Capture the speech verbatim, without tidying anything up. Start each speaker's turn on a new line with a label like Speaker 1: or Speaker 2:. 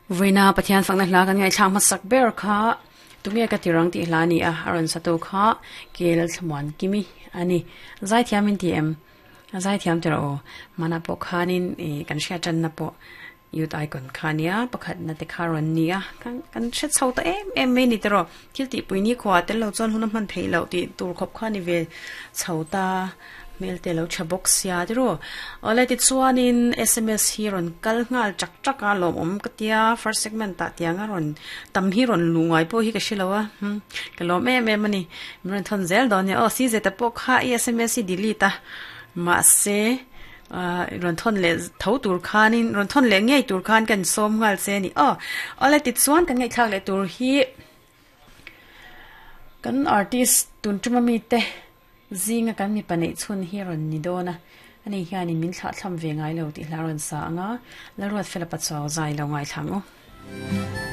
Speaker 1: Voina Pathian fakna hla kan ngaithla hmasak ber kha tunge ka tirang tih hla ni a a rawn sa tu kha kel thlamuan kimi ani zaithiam in ti em a zaithiam tira aw mana pawh khanin ih kan hriat tanna pawh youth icon kha nia pakhat na te kha rawn ni a kan kan hre chho ta em em mai ni tiraw thil tih pui ni khuah tel lo chuan hun a hman theih loh tih tur khawp kha ni ve chho ta hmel te lo tha bawk sia tiraw awle tichuanin S M S hi rawn kal nghal chak chak a lawm awm ka tia. First segment ah tianga rawn tam hi rawn lu ngai pawh hi ka hrelo a hmm ka lawm em em ani. Min rawn thawn zel dawn nia aw. C Z pawh kha i S M S hi delete a mahse rawn thawn leh tho tur khanin rawn thawn leh ngei tur khan kan sawm nghal che ani aw. Awle tichuan kan ngaihthlak leh tur hi kan artist tun tuma mi te zinga kan mi paneih chhun hi rawn ni dawn a ani hianin min thlah thlam ve ngai lo tih hla rawn sa anga Lalruat Fela Pachuau zai lo ngaithla ang u.